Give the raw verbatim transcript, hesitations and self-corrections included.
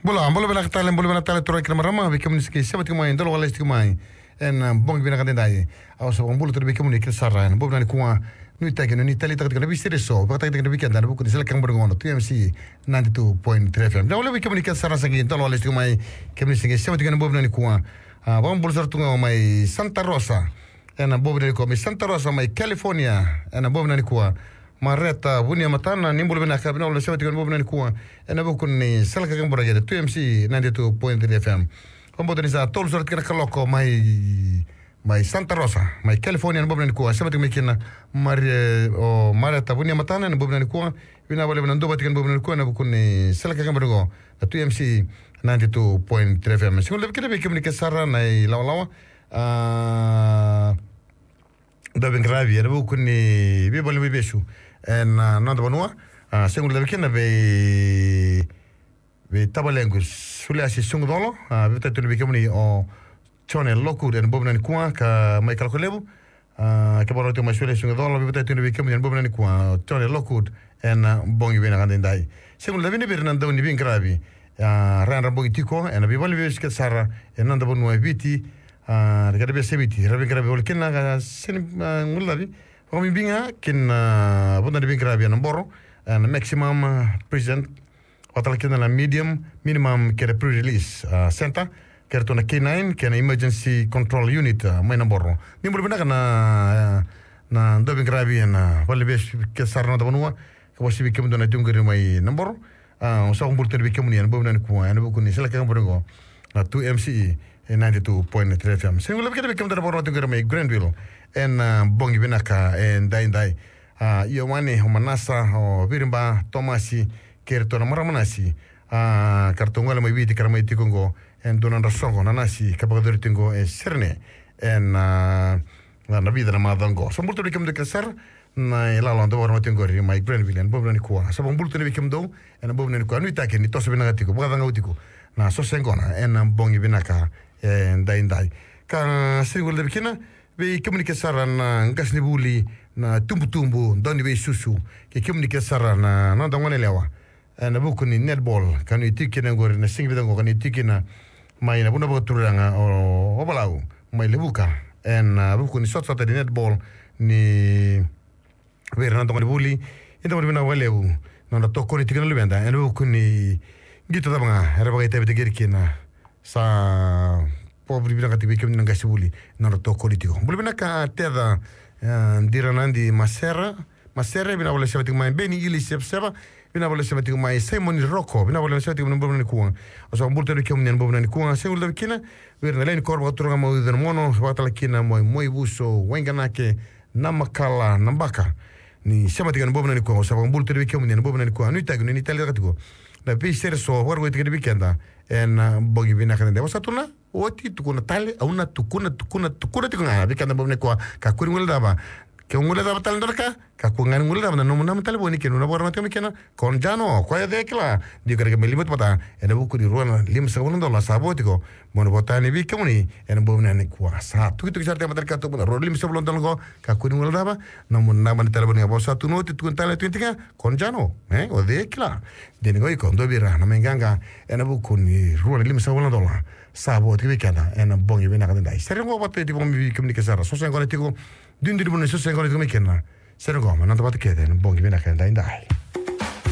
Bula, bula vinaka tale, bula vinaka tale, turaga kei na marama, vei kemuni sa qai sema tiko mai, dau lako lesu tiko mai ena bogi vinaka edaidai. Au sa vakabula tale vei kemuni kece sara ena bogi vinaka nikua. Nuitaki ni o ni taleitaka tiko na veisere eso, vakatakitaki na vei keda ena vuku ni sala kena bori gona, tu M C ninety-two point three F M. Vinaka vakalevu vei kemuni kece sara sa qai dau lako lesu tiko mai, kemuni sa qai sema tiko ena bogi vinaka nikua. A, vakabula sara tu ga mai Santa Rosa ena bogi vinaka nikua, mai Santa Rosa, mai California, ena bogi vinaka nikua. Mareta Vunia Matana, ni bula vinaka, vinaka vakalevu na sema tiko ena bogi vinaka nikua ena vuku ni sala kena bori gona, tu M C ninety-two point three F M. Vakabauta ni sa tolu sara tiko na kaloko mai, mai Santa Rosa, mai California, ena bogi vinaka nikua, sema tiko mai kina Maria, o Mareta Vunia Matana, ena bogi vinaka nikua. Vinaka vakalevu na duavata tiko ena bogi vinaka nikua ena vuku ni sala kena bori gona, na tu M C ninety-two point three F M. Sa gole vei keda, vei kemuni kece sara na ilawalawa. A, dau veiqaravi ena vuku ni veivaleniveivesu ena, a, noda vanua. A, sa gole vei keda, vei, vei tavalequ Suliasi Sugucolo. A, veivatai tu vei kemuni o Jone Lockwood ena bogi vinaka nikua, ka mai Kalokolevu. A, ke vakarau tiko mai Suliasi Sugucolo, veivatai tu vei kemuni ena bogi vinaka nikua o Jone Lockwood ena bogi vinaka edaidai. Sa gole vei ira na dau ni veiqaravi, a, ra yadra bogi tiko ena veivaleniveivesu kece sara ena noda vanua e Viti. A, na kena veiyasai Viti, ra veiqaravi voli kina, a, sega ni, a, guilecavi. Vakabibi ga kina, a, vodo ni veiqaravi ena Boro, ena Maximum, a, Prison, vakatalega kina na Medium, Minimum kei na Pre-Release, a, Center, kei ratou na K nine kei na Emergency Control Unit, a, mai Naboro. Ni bula vinaka na, a, na dau veiqaravi ena valeniveivesu kece sara ena noda vanua. Ka vakasivia kemudou na tiko qori mai Naboro. A, au sa vakabula tu vei kemuni ena bogi vinaka nikua ena vuku ni sala kena bori gona, na tu M C E ninety-two point three F M. Sa gole vei keda, vei kemudou na vakarorogo tiko qori mai Granville ena, a, bogi vinaka edaidai. A, Ioane, o Manasa, o Viriba, Tomasi, kei ratou na marama nasi. A, ka ratou gole mai Viti ka ra mai tiko qo ena dua na nodra soqo na nasi ka vakayacori tiko qo e Serene ena, a, na, na vica na macawa qo. Sa bula tu vei kemudou kece sara na ilawalawa dau vakarorogo tiko qori mai Granville ena bogi vinaka nikua. Sa vakabula tu vei kemudou ena bogi vinaka nikua. Nuitaki ni toso vinaka tiko, vakacagau tiko na soso yaqona ena bogi vinaka edaidai. Ka sa gole vei kina, vei kemuni kece sara na qasenivuli, na tubutubu, dau ni veisusu, kei kemuni kece sara na noda goneyalewa ena vuku ni netball, ka ni tiko kina qori na siga vica qo, ka ni tiko kina mai na vanua vakaturaga o, o Valau, mai Levuka, ena vuku ni sotasota ni netball ni vei ira na noda gonevuli. Eda vakavinavinaka vakalevu na nodra tokoni tiko na luveda ena vuku ni qito cava ga era vakaitavitaki ira kina. Sa vakavinavinakataki vei kemuni na qasenivuli na nodra tokoni tiko. Bula vinaka Teca, e, Diranadi Masera, Masere, vinaka vakalevu na sema tiko mai. Beni Ili Sevaseva, vinaka vakalevu na sema tiko mai. Simon Roko, vinaka vakalevu na sema tiko mai ena bogi vinaka nikua. Au sa vakabula tu vei kemuni ena bogi vinaka nikua. Sa gole vei kina, vei ira na lewe ni koro vakaturaga mai Uca na Mono, vakatalega kina mai Moivuso, Waiganake, Namakala, Nabaka. Ni sema tiko ena bogi vinaka nikua, au sa vakabula tu vei kemuni ena bogi vinaka nikua. Nuitaki ni o ni taleitaka tiko na veisere eso, vakarogoitaki vei keda ena bogi vinaka edaidai. Au sa tukuna oti, tukuna tale, au na tukuna, tukuna, tukuna tiko ga vei keda ena bogi vinaka nikua. Kakua ni guilecava. Ke o guilecava tale e dua na ka, kakua ga ni guilecava na nomu naba ni talevoni, kei na nona vakarorogo tiko mai kina. Konjano, koya o cei e kila. Dua ka raica mai lima vata ena vuku ni rua na limasagavulu na dola sa vo tiko. Mo ni vota yani vei kemuni ena bogi vinaka nikua. Sa tukituki sara tiko e matanikatuba na rua na limasagavulu na dola qo. Kakua ni guilecava, nomu naba ni talevoni ga. Au sa tukuna oti, tukuna tale, tukuna tiko ga. Konjano, e, o cei e kila. Dina ga o iko, dua vei ira na mai qaqa ena vuku ni rua na limasagavulu na dola sa vo tiko vei keda ena bogi vinaka edaidai. Sere qo vata tiko mai vei kemuni kece sara. Soso yaqona tiko, duidui ni vanua ni soso yaqona tiko mai kina. Sere qo, mai noda vata kece ena bogi vinaka edaidai.